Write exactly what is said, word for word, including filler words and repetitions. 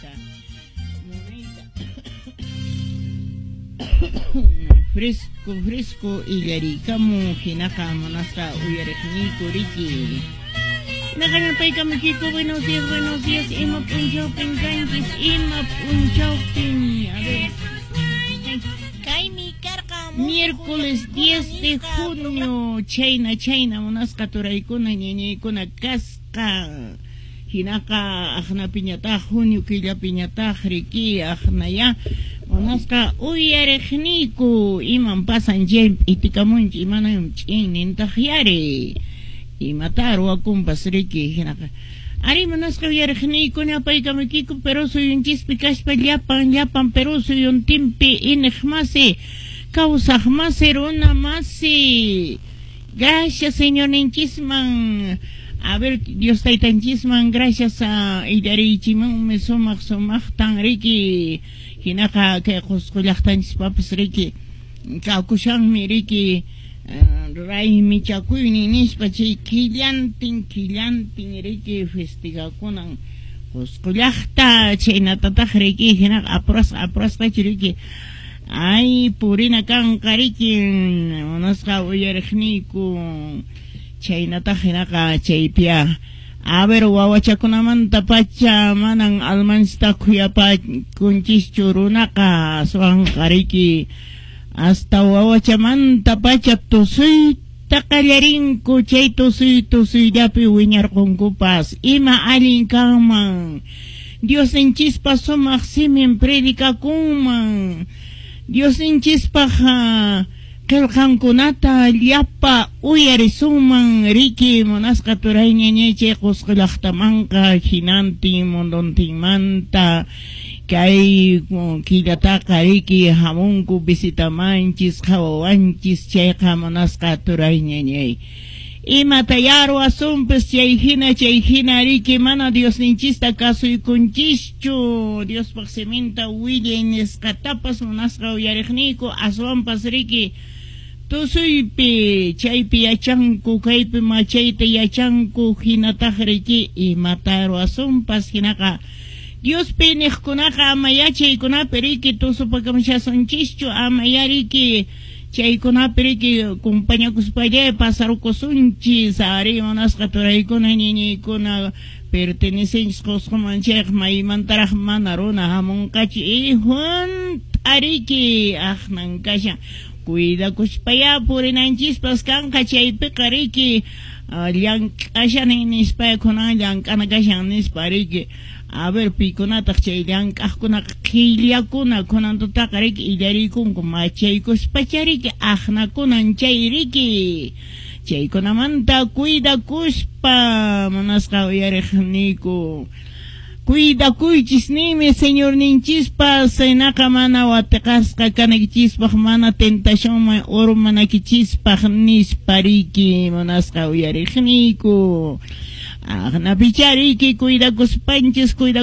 Munayta, munayta. Fresco, fresco illarikamu hinaqa munasqa uyariqniyku riki. Naqañapaykamuykiku, buenos días, buenos días, ima p'unchawpin kanchis, ima p'unchawpin, a ver. Kaymi karqa Miércoles diez de junio, chayna, chayna, munasqa turaykuna, ñañaykuna kasqa. Hinaqa aqnapiñataq, junio killapiñataq riki, aqnaya munasqa uyariqniyku, iman pasan chay p'itikamunchik, imanayum ch'innintaq yari. Imata ruwakunpas riki, hinaqa. Ari munasqa uyariqniykuna apaykamuykiku Perú suyunchispi kaspa llapan, llapan Perú suyuntinpi iniq masi, kawsaq masi, runa masi. Gracias Señorninchisman. A ver, Dios taytanchisman, gracias a illariychimanmi sumaq sumaqtan riki. Hinaqa kay Qusqu llaqtanchispapas riki kakushanmi riki raymichakuynin nispa chay killantin killantin riki festigakunan Qusqu llaqta chaynatataq riki hinaqa apurasqa apurasqachu riki ay purina kanqa riki munasqa uyariqniyku chaynataq hinaqa chaypiya a ver wawachakunamanta pacha manan almanchista khuyapakunchischu runaqa aswanqa riki hasta wawachamanta pacha tusuyta qallarinku chay tusuy tusuyllapi wiñarqunkupas ima allin kanman Diosninchispa sumaq simin predicakunman Diosninchispaq qillqankunata llapa uyarisunman riki munasqa turay ñañay chay Qusqu llaqtamanqa hinantin munduntinmanta kay killataqa riki hamunku visitamanchis qhawawanchis chayqa munasqa turay ñañay imata ruwasunpis chay hina chay hina riki mana Diosninchista kasuykunchischu Diospaq siminta willay nisqatapas munasqa uyariqniyku aswanpas riki tusuypi chaypi yachanku kaypi machayta yachanku hinataq riki imata ruwasunpas hinaqa Diospi niqkunaqa ama yachaykunapi riki tusupakamushasunchischu ama yariki chaykunapi riki kumpañakuspalla pasarukusunchis ari munasqa turaykuna ñiñiykuna pertenecenchis Qusquman chayqa maymantaraq mana runa hamunqachu ihunt'a riki aqnan kashan cuidakuspaya purinanchispas kanqa chaypiqa riki llank'ashani nispa kunan llank'ana kashan nispa riki a ver pikunataq chay llank'aqkunaqa qhillakuna kunantutaqa riki illariykunku machaykuspacha riki aqnakunan chay riki chaykunamanta cuidakuspa munasqa uyariqniyku cuidakuychis nimi Señorninchispas hinaqa mana watiqasqa kanaykichispaq mana tentacionman urmanaykichispaq nispa riki munasqa uyariqniyku aqnapicha riki cuidakuspanchis cuida